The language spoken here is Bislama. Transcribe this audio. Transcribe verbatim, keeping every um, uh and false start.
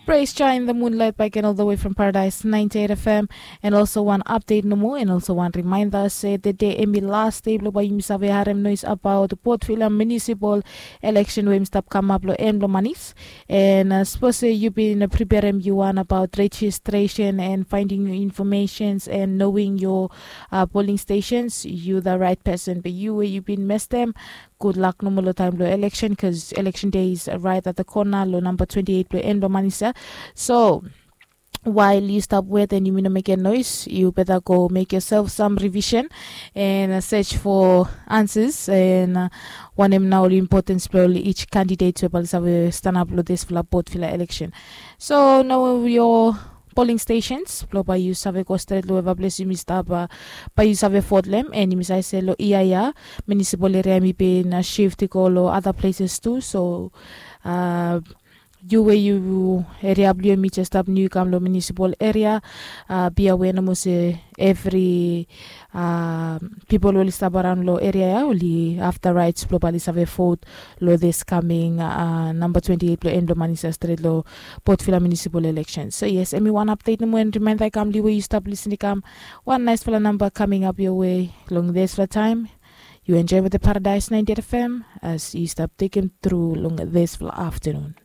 Praise Jah in the Moonlight back and all the way from Paradise ninety-eight F M. And also wan update nomo and also wan reminder se tede hemi last day blong bae yumi save harem noise about Port Vila Municipal Election we hemi stap kamap long en blong manis. And uh, sapos se yu bin preperem yu wan about registration and finding your informations and knowing your uh, polling stations, you the right person. But you we yu bin mestem, good luck nomo long taem blong election, cause election day is right at the corner long number twenty-eight blong en blong manis ya. So while yu stap wet and yumi no mekem noise, yu beta go make yourself some revision and uh, search for answers and uh, wanem na ol importance blong ol each candidate we bae oli save stanap long disfala Port Vila election. So now your polling stations blong bae yu save go stret long weva ples yumi stap, uh, bae yu save vote long hem. And yumi save se long ia ya municipal area hemi bin uh, shift i go long other places tu. So uh, yu we yu area blong yu hemi jes stap niu i kam long municipal area, uh, be aware nomo se evri uh, pipol we oli stap araon long area ya oli have the rights blong bae oli save vote long this coming uh, number twenty-eight blong en blong manis ya stret long Port Vila Municipal Election. So yes, hemi wan update nomo and reminder i kam long yu we yu stap lisin i kam. Wan nicefala number coming up your way long disfala taem. Yu enjoy with the Paradise ninety-eight F M as yu stap tekem tru long disfala afternoon.